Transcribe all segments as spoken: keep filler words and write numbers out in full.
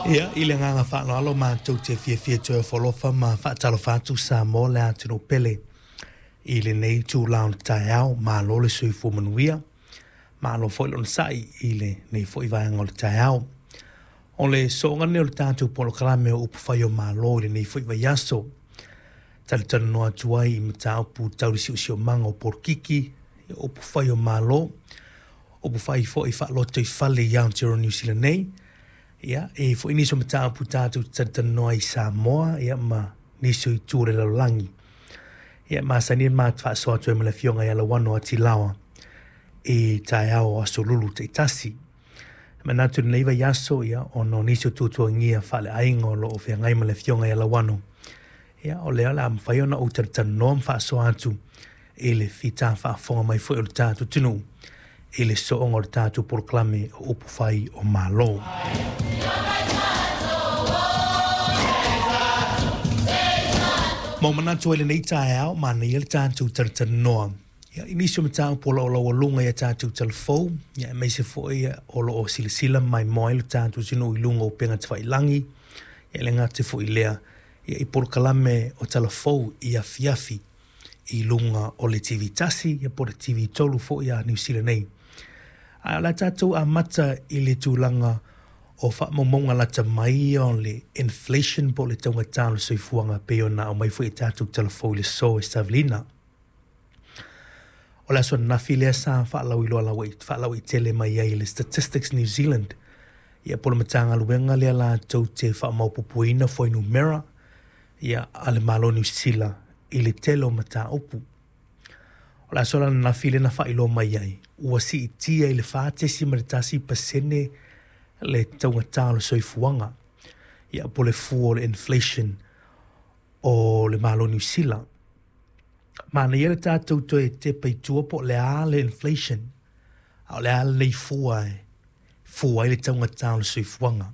Ia, i le agaga faaaloalo matou te fiafia e toe ofo alofa ma faatalofa atu Samoa le atunuu pele i lenei itula o le taeao. Malo le soifua manuia, malo foi le onosai i lenei foi vaega o le taeao. O le sooga lenei o le tatou polokalame o Upufai o Malo i lenei foi vaiaso. Talatalanoa atu ai i mataupu tau le siosiomaga o polokiki, o upufai o Malo, upufai foi faalotoifale i Aotearoa Niu Sila nei. Ia, e i ai foi nisi o mataupu tatou te talatalanoa ai i Samoa ia ma nisi o itu o le lalolagi. Ia, e masani ona ma faasoa atu ai ma le Afioga ia Lauano Atilaoa i taeao o Aso Lulu taitasi. E manatu i lenei vaiaso, ia, ona o nisi o tuatuagia faaleaiga o lo o feagai ma le Afioga ia Lauano, ia, o lea o le a mafai ona ou talatalanoa ma faasoa atu i le fita faafofoga mai foi o le tatou atunuu i le sooga o le tatou polokalame o Upufai o Malo. Ma ua manatu ai lenei taeao, manaia le tatou talatalanoa ia, i nisi o mataupu o lo o laualuga i a tatou talafou, ia, aemaise foi o lo o silasila ma maimoa ai le tatou atunuu i luga o upega tafailagi, ia, e le gata foi i lea, ia, i polokalame o talafou i afiafi i luga o le T V tasi, ia, po o le T V tolu foi a Niu Sila nei. Ae o le a tatou amata i le tulaga o faamaumauga lata mai ia o le inflation po o le taugata o le soifuaga pei ona aumai foi e tatou talafou i le aso e Savelina. O le aso ananafi lea sa faalauiloa faalauaitele mai ai e le Statistics New Zealand, ia po o le Matagaluega lea latou te faamaopoopoina fuainumera ia, a le Malo o Niu Sila i le tele o mataupu. O le aso la ananafi lea na faailoa mai ai, ua siitia i le fa tesima le tasi pasene le taugata o le soifuaga, ia, po o le fua o le inflation o le Malo o Niu Sila. Manaia le tatou toe tepa i tua po o le a le inflation, a o le a lenei fua e fua ai le taugata o le soifuaga.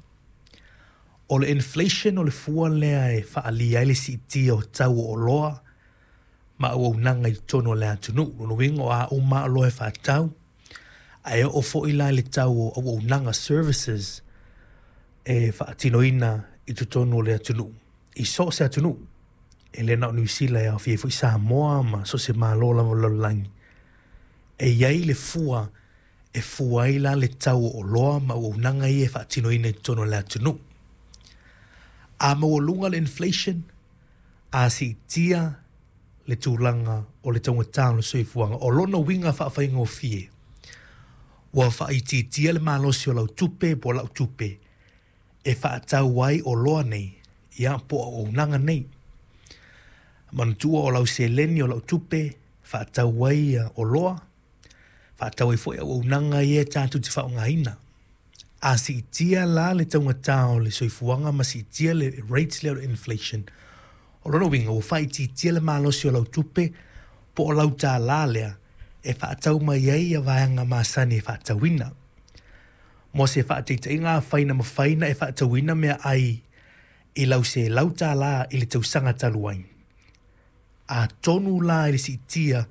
O le inflation o le fua lea e faaalia ai le siitia o tau o oloa ma auaunaga i totonu o le atunuu. Lona uiga o a uma lava oloa e faatau, ae oo foi la i le tau o auaunaga services e faatinoina i totonu o le atunuu, i so o se atunuu. E le na o Niu Sila, e aofia ai foi Samoa ma so o se malo lava o le lalolagi. E i ai le fua e fua ai la le tau o oloa ma auaunaga ia e faatinoina i totonu o le atunuu. A maualuga le inflation, a siitia le tulaga o le taugata o le soifuaga, o lona uiga faafaigofie, ua faaitiitia le malosi o lau tupe po o lau tupe e faatau ai oloa nei, ia, po o auaunaga nei. Manatua o lau seleni o lau tupe faatau ai oloa, faatau ai foi auaunaga ia tatou te faaaogaina. A siitia la le taugata o le soifuaga ma siitia le rates lea o le inflation, o lona uiga ua faaitiitia le malosi o lau tupe po o lau tālā lea e faatau mai ai ia vaega masani e faatauina. Mo se faataitaiga, afai na mafai ona e faatauina meaai i lau selau tālā i le tausaga talu ai, atonu la i le siitia